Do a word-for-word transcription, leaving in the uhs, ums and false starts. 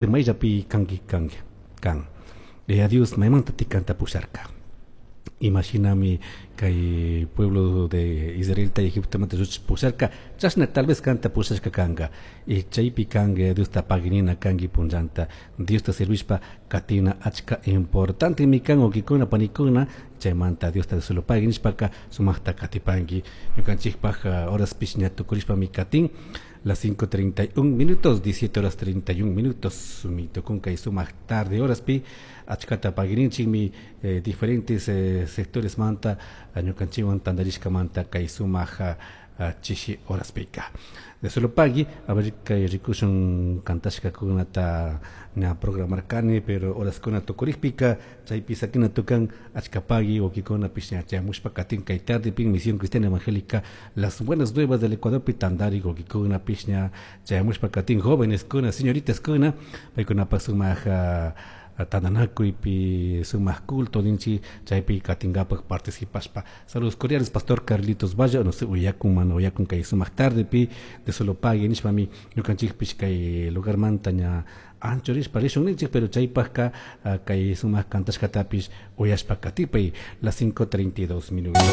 Mayllapi kanki kanki kan. Yaya Dios maymanta kanta pusharka. Imashinami kay pueblo de Israelta Egiptomanta pusharka, chashna tal vez kanta pushashka kanka. Y chaypi kanka Diosta paginina kanki punllanta. Diosta servishpa katina achka importante mi kan wawkikuna panikuna chaymanta Diosta solo pagui nishpaka sumakta katipanki. Ñukanchikpak horaspish ña tukurishpami katin. Las cinco treinta y un minutos, diecisiete horas treinta y un minutos, mi tukun kay sumak tarde horaspi, achkata pagirinchikmi eh, diferentes eh, sectores manta, ñukanchikwan tantarishkamanta kay sumak chishi horaspika. De solo pagui, a ver, kay rikushun kantashkakunata ña programarkani, pero horaskuna tukurikpika chaypi sakina tukan. Achka pagui, wawkikunapish ña chayamushpa katin kay tardepi Misión Cristiana Evangélica Las Buenas Nuevas del Ecuadorpi tantari wawkikunapish ña chayamushpa katin, jóvenes kuna, señoritas kuna, paykunapak sumak tantanakuypi, sumak culto ninchik, chaypi katinkapak participashpa. Saludos cordiales, pastor Carlitos Valle, no sé, uyakun mana uyakun kay sumak tardepi. De solo pagui nishpami ñukanchikpish kay lugarmanta ña anchurishpa rishun ninchik, pero chaypakka kay sumak kantashkatapish uyashpa katipay. Las cinco treinta y dos minutos.